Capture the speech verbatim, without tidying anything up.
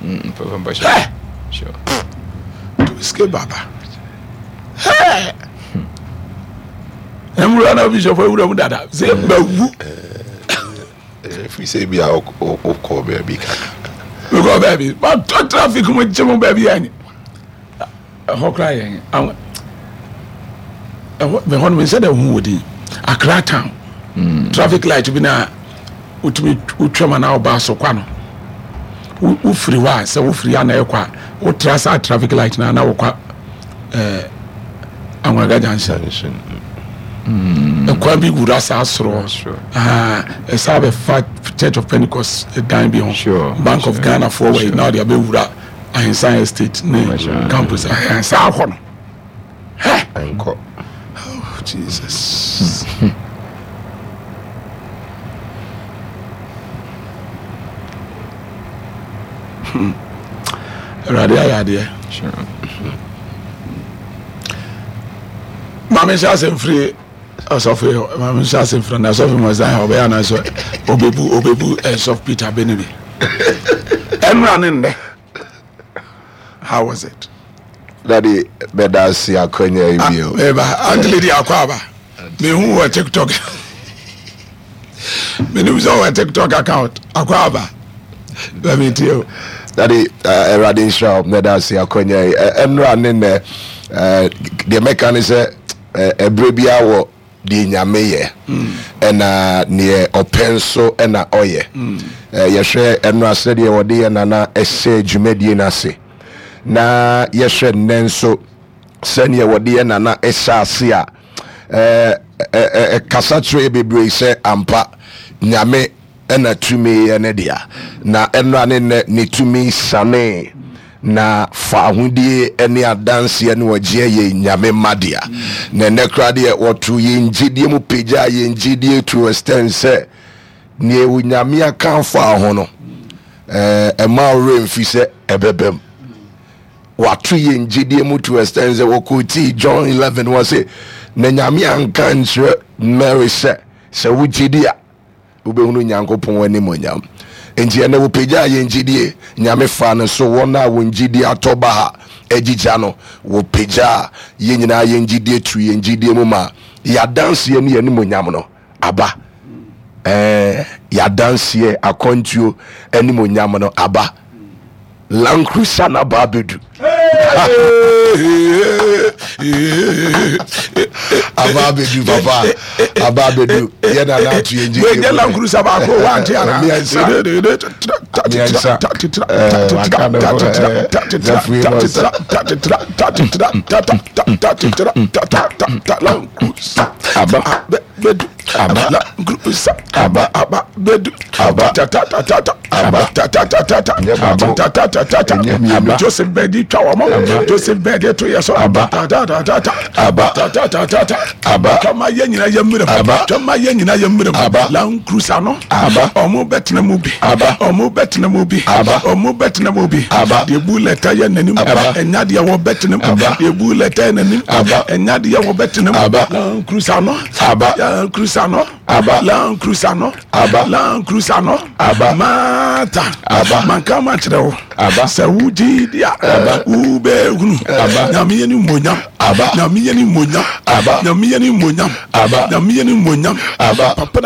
Mm, papa mpakyɛ. Hey! Sure. To escape baba. Hey! Nwura na bishop awura mu dada sɛ mawu. Ɛfiri sɛ bi a wokɔ baabi kakra. Mekɔ baabi matɔ traffic mu gye mu baabi yɛ ɛhɔ koraa yɛ ɛhɔ mehɔ no mensɛ dɛ hu wɔ din Accra town traffic light bi na wotumi wotwam anaa ɔbaa so kwa no, wofiri hɔ a, sɛ wofiri a na ɛkɔ a, wotra saa traffic light na na wokɔ ɛɛ Anwagaga Junction. Ɛkwan bi wura saa soro ɛsa bɛfa Church of Pentecost dan bi ho, Bank of Ghana foɔ wɔ yi na ɔde abɛwura Ahensan Estate ne campus saa hɔ no. Nkɔ. Oh Jesus. Awurade ayɛ adeɛ. Maame nhyɛ asɛm firi ɔsɔfo yi hɔ. Maame nhyɛ asɛm firi na ɔsɔfo mu ɔsan ɔbɛyɛ anaasɛ ɔbɛbu ɔbɛbu ɛsɔfo Peter Benini. Ɛnura ne nnɛ. How was it? Daddy, bɛda ase akwanya yi bio. Eba, Auntie Lady akɔ aba. Mehu wɔ TikTok. Menim sɛ wɔ TikTok account akɔ aba. Bɛmi tie o. Daddy, Awurade nhyira wo. Bɛda ase akwanya yi. Ɛnura ne nnɛ, deɛ mɛka ne sɛ, ɛberɛ biara wɔ deɛ Nyame yɛ, ɛna neɛ ɔpɛ nso ɛna ɔyɛ. Yɛhwɛ ɛnora sɛdeɛ wɔde yɛ nana ɛhyɛ dwumadie no ase, na yɛhwɛ nnɛ nso sɛdeɛ wɔde yɛ nana ɛhyɛ ase a, ɛkasa kyerɛ yɛ bebree sɛ ampa Nyame ɛna tumi yɛ ne dea. Na ɛnora ne nnɛ ne tumi sane na fa ahodie ne adanseɛ ne ɔgyeɛ yɛ Nyame mma dea. Na ɛnɛ koraa deɛ wɔto yɛn gyidie mu pagya yɛn gyidie to extend sɛ neɛ Onyame aka afa ho no, ɛma wo werɛ mfi sɛ ɛbɛbam. Wato yɛn gyidie mu to extend sɛ wɔkɔtii John eleven wɔ se na Nyame anka nkyerɛ Mary sɛ sɛ wo gyidie a wobɛhunu Nyankopɔn animuonyam. Enti ɛnɛ wɔpagyaa yɛn gyidie. Nyame faa no so wɔn a wɔn gyidie atɔ ba ha agyigya no, wɔpagyaa yɛn nyinaa yɛn gyidie tu yɛn gyidie mu ma yɛadanseɛ ne yɛn animuonyam no aba. Ɛɛ, yɛadanseɛ akwantuo animuonyam no aba. Land Cruiser na ba abedu. Aba abedu papa. Aba abedu. Yɛ na na atu yɛn gyidie. Wei Land Cruiser baako wante ana. Mmiɛnsa. Mmiɛnsa. Ɛɛ waka ne ho ɛɛ zafue mɔsa. Land Cruiser. Aba. Bedu. Aba. Land Cruiser. Aba. Aba bedu. Aba. Ta ta ta ta ta. Aba. Ta ta ta ta ta. Nyɛ baako. Ta ta ta ta ta. Ɛnyɛ mmienu. Joseph Bɛdi twa wɔn. Joseph Bɛdi to yɛ so. Aba. Ta ta ta ta ta. Aba. Ta ta ta ta ta. Aba. Twama yɛ nyina yɛ mmerɛ mu. Aba. Twama yɛ nyina yɛ mmerɛ mu. Aba. Land Cruiser no. Aba. Ɔmo bɛtena mu bi. Aba. Ɔmo bɛtena mu bi. Aba. Ɔmo bɛtena mu bi. Aba. Deɛ bu lɛta yɛ n'anim. Aba. Ɛnya deɛ wɔbɛtena mu. Aba. Deɛ bu lɛta yɛ n'anim. Aba. Ɛnya deɛ wɔbɛtena mu. Aba. Land Cruiser no. Aba. Land Cruiser no. Aba. Land Cruiser no. Aba. Land Cruiser no. Aba. Mata. Aba. Manka ma kyerɛ wo. Aba. Sɛ wogye di a. Aba. Wobɛhunu. Aba. Nyame yɛ ne mmonyam. Aba. Nyame yɛ ne mmonyam. Aba. Nyame yɛ ne mmonyam. Aba. Nyame yɛ ne mmonyam. Aba. Papa.